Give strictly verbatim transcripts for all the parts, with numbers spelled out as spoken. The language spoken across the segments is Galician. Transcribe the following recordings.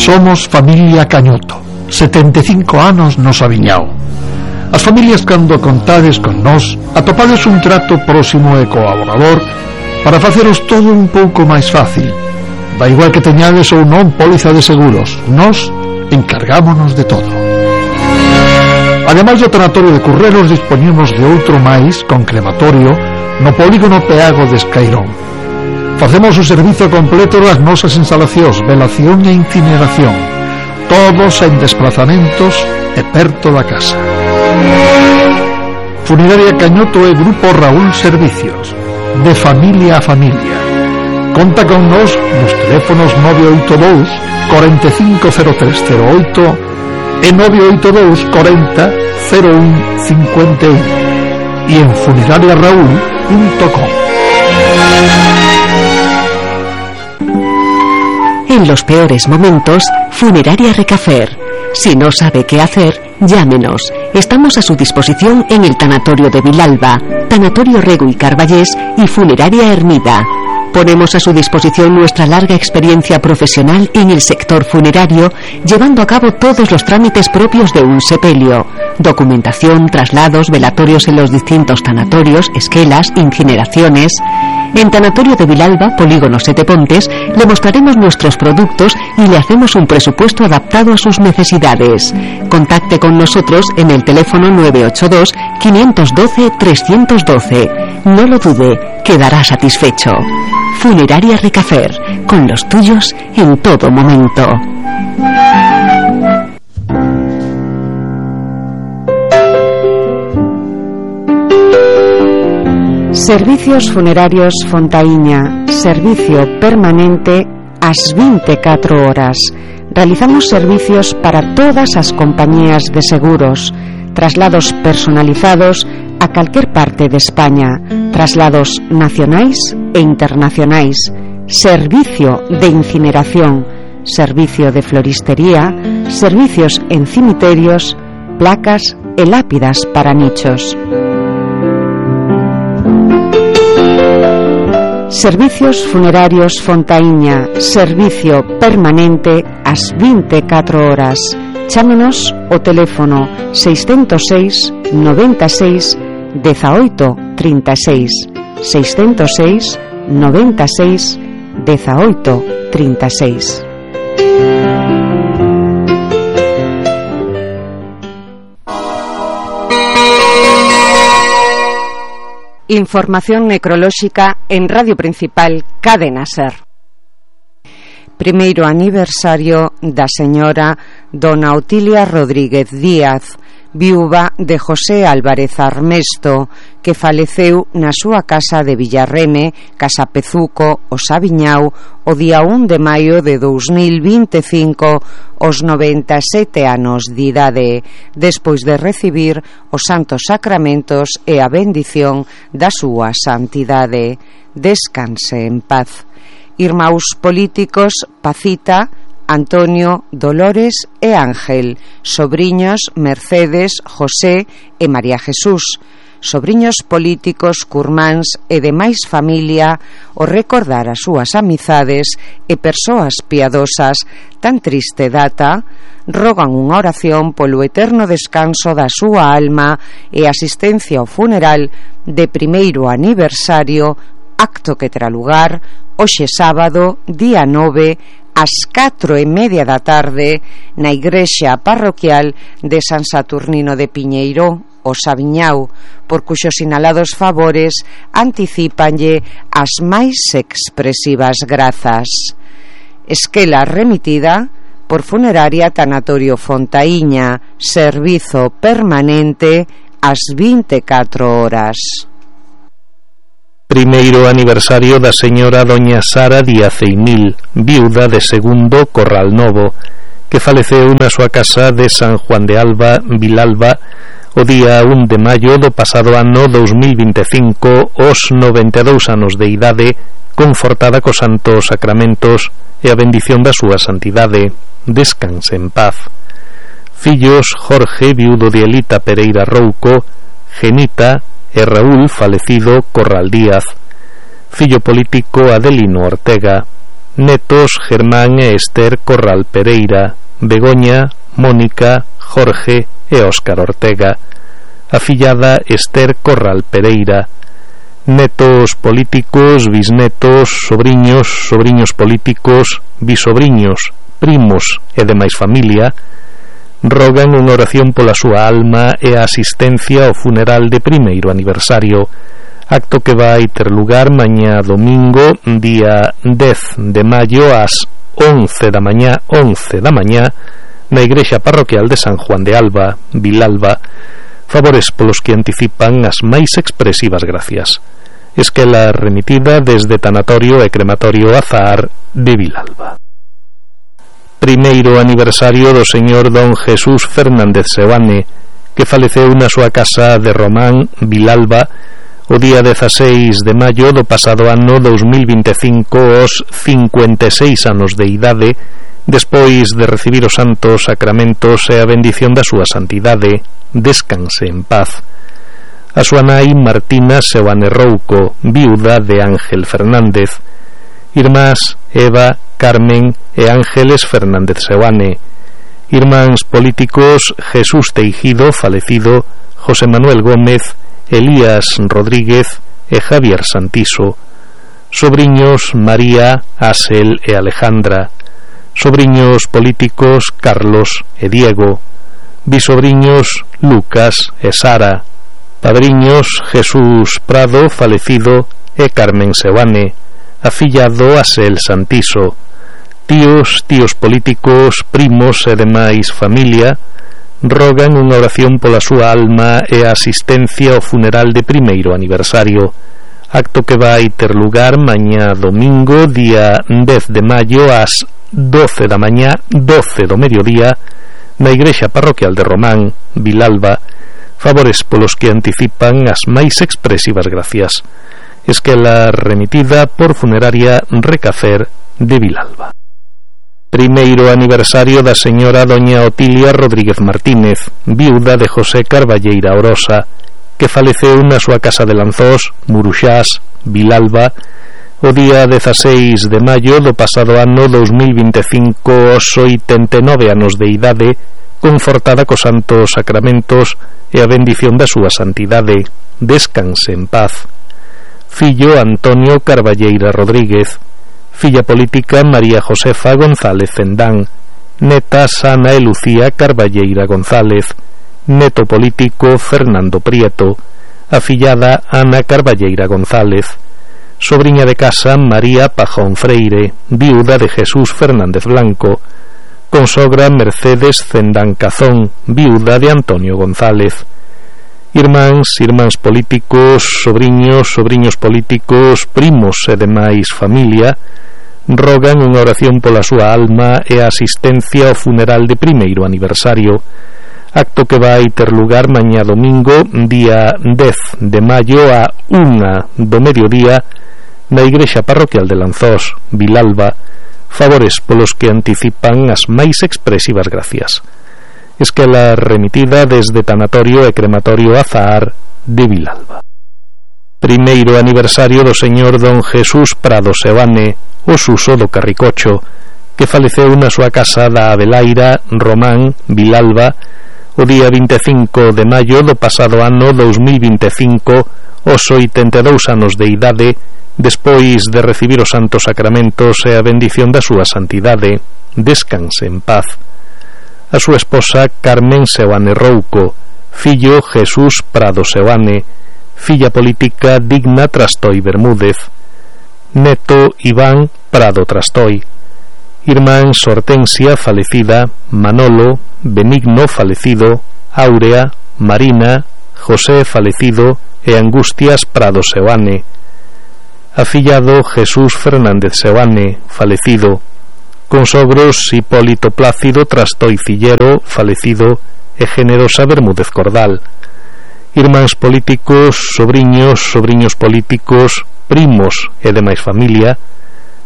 Somos familia Cañoto, setenta e cinco anos nos aviñao. As familias, cando contades con nós, atopades un trato próximo e colaborador para faceros todo un pouco máis fácil. Da igual que teñades ou non póliza de seguros, nós encargámonos de todo. Ademais do tanatorio de Currelos, dispoñemos de outro máis con crematorio no polígono Peago de Escairón. Facemos o servizo completo das nosas instalacións, velación e incineración, todos en desplazamentos e perto da casa. Funeraria Cañoto e Grupo Raúl Servicios, de familia a familia. Conta con nos nos teléfonos nove oito dous, cuarenta e cinco cero tres cero oito e nove oito dous, cuarenta cero un cincuenta y uno e en funeraria raúl punto com. En los peores momentos, Funeraria Recafer. Si no sabe qué hacer, llámenos. Estamos a su disposición en el Tanatorio de Vilalba, Tanatorio Rego y Carballés y Funeraria Hermida. Ponemos a su disposición nuestra larga experiencia profesional en el sector funerario, llevando a cabo todos los trámites propios de un sepelio: documentación, traslados, velatorios en los distintos tanatorios, esquelas, incineraciones. En Tanatorio de Vilalba, Polígono Sete Pontes, le mostraremos nuestros productos y le hacemos un presupuesto adaptado a sus necesidades. Contacte con nosotros en el teléfono nueve ocho dos, cinco uno dos, tres uno dos. No lo dude, quedará satisfecho. Funeraria Recafer, con los tuyos en todo momento. Servicios Funerarios Fontaíña, servicio permanente ás vinte e catro horas. Realizamos servicios para todas as compañías de seguros, traslados personalizados a calquer parte de España, traslados nacionais e internacionais, servicio de incineración, servicio de floristería, servicios en cimiterios, placas e lápidas para nichos. Servicios Funerarios Fontaíña, servicio permanente ás vinte e catro horas. Chámenos o teléfono seiscentos seis, noventa e seis, dezaoito, trinta e seis, seiscentos seis, noventa e seis, dezaoito, trinta e seis. Información necrolóxica en Radio Principal Cadena Ser. Primeiro aniversario da señora Dona Otilia Rodríguez Díaz, viúva de José Álvarez Armesto, que faleceu na súa casa de Villarreme, Casa Pezuco, o Sabiñao, o día un de maio de dous mil vinte e cinco, aos noventa e sete anos de idade, despois de recibir os santos sacramentos e a bendición da súa santidade. Descanse en paz. Irmãos políticos Pacita, Antonio, Dolores e Ángel, sobriños Mercedes, José e María Jesús, sobriños políticos, curmáns e demais familia, o recordar as súas amizades e persoas piadosas tan triste data, rogan unha oración polo eterno descanso da súa alma e asistencia ao funeral de primeiro aniversario, acto que terá lugar hoxe sábado, día nove, ás catro e media da tarde, na igrexa parroquial de San Saturnino de Piñeiro, o Sabiñao, por cuxos sinalados favores anticípanlle as máis expresivas grazas. Esquela remitida por Funeraria Tanatorio Fontaíña, servizo permanente ás vinte e catro horas. Primeiro aniversario da señora doña Sara Díaz Eimil, viuda de Segundo Corral Novo, que faleceu na súa casa de San Juan de Alba, Vilalba, o día un de maio do pasado ano dous mil vinte e cinco, aos noventa e dous anos de idade, confortada cos santos sacramentos e a bendición da súa santidade. Descanse en paz. Fillos Jorge, viudo de Elita Pereira Rouco, Genita e Raúl, falecido Corral Díaz. Fillo político Adelino Ortega. netos Germán e Esther Corral Pereira, Begoña, Mónica, Jorge e Óscar Ortega. Afillada Esther Corral Pereira. Netos políticos, bisnetos, sobriños, sobriños políticos, bisobriños, primos e demais familia rogan unha oración pola súa alma e a asistencia ao funeral de primeiro aniversario, acto que vai ter lugar mañá domingo, día dez de maio ás once da mañá, once da mañá, na igrexa parroquial de San Juan de Alba, Vilalba. Favores polos que anticipan as máis expresivas gracias. Esquela remitida desde Tanatorio e Crematorio Azahar de Vilalba. Primeiro aniversario do señor don Jesús Fernández Seoane, que faleceu na súa casa de Román, Vilalba, o día dezaseis de maio do pasado ano dous mil vinte e cinco aos cincuenta e seis anos de idade, despois de recibir os santos sacramentos e a bendición da súa santidade. Descanse en paz. A súa nai Martina Seoane Rouco, viuda de Ángel Fernández. Irmás Eva, Carmen e Ángeles Fernández Seoane. Irmáns políticos Jesús Teijido, falecido, José Manuel Gómez, Elías Rodríguez e Javier Santiso. Sobriños María, Asel e Alejandra. Sobriños políticos Carlos e Diego. Bisobriños Lucas e Sara. Padriños Jesús Prado, falecido, e Carmen Seoane. Afillado Asel Santiso. Tíos, tíos políticos, primos e demais familia rogan unha oración pola súa alma e a asistencia ao funeral de primeiro aniversario, acto que vai ter lugar mañá domingo, día dez de maio ás doce da mañá, doce do mediodía, na igrexa parroquial de Román, Vilalba. Favores polos que anticipan as máis expresivas gracias. Esquela remitida por Funeraria Recafer de Vilalba. Primeiro aniversario da señora doña Otilia Rodríguez Martínez, viuda de José Carballeira Orosa, que faleceu na súa casa de Lanzós, Muruxás, Vilalba, o día dezaseis de maio do pasado ano dous mil vinte e cinco aos oitenta e nove anos de idade, confortada cos santos sacramentos e a bendición da súa santidade. Descanse en paz. Fillo Antonio Carballeira Rodríguez. Filla política María Josefa González Cendán. Netas Ana e Lucía Carballeira González. Neto político Fernando Prieto. Afillada Ana Carballeira González. Sobriña de casa María Pajón Freire, viuda de Jesús Fernández Blanco. Consogra Mercedes Cendán Cazón, viuda de Antonio González. Irmáns, irmáns políticos, sobriños, sobriños políticos, primos e demais familia rogan unha oración pola súa alma e a asistencia ao funeral de primeiro aniversario, acto que vai ter lugar mañá domingo, día dez de maio a unha do mediodía, na igrexa parroquial de Lanzós, Vilalba. Favores polos que anticipan as máis expresivas gracias. Esquela remitida desde Tanatorio e Crematorio Azahar de Vilalba. Primeiro aniversario do señor don Jesús Prado Seoane, o Suso do Carricocho, que faleceu na súa casa da Abelaira, Román, Vilalba, o día vinte e cinco de maio do pasado ano dous mil vinte e cinco, aos oitenta e dous anos de idade, despois de recibir os santos sacramentos e a bendición da súa santidade. Descanse en paz. A súa esposa Carmen Seoane Rouco, fillo Jesús Prado Seoane, filla política Digna Trastoi Bermúdez, neto Iván Prado Trastoi, irmáns Hortensia falecida, Manolo, Benigno falecido, Áurea, Marina, José falecido e Angustias Prado Seoane. Afillado Jesús Fernández Seoane, falecido. Consogros Hipólito Plácido Trastoi Cillero, falecido, e Generosa Bermúdez Cordal. Irmáns políticos, sobriños, sobriños políticos, primos e demais familia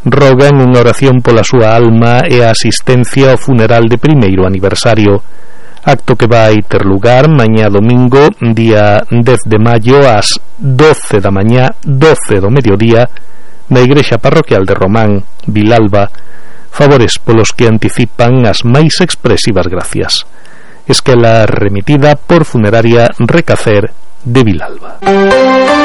rogan unha oración pola súa alma e a asistencia ao funeral de primeiro aniversario, acto que vai ter lugar mañá domingo, día dez de maio ás doce da mañá, doce do mediodía, na Igrexa Parroquial de Román, Vilalba, favores polos que anticipan as máis expresivas gracias. Esquela remitida por Funeraria Recafer de Vilalba.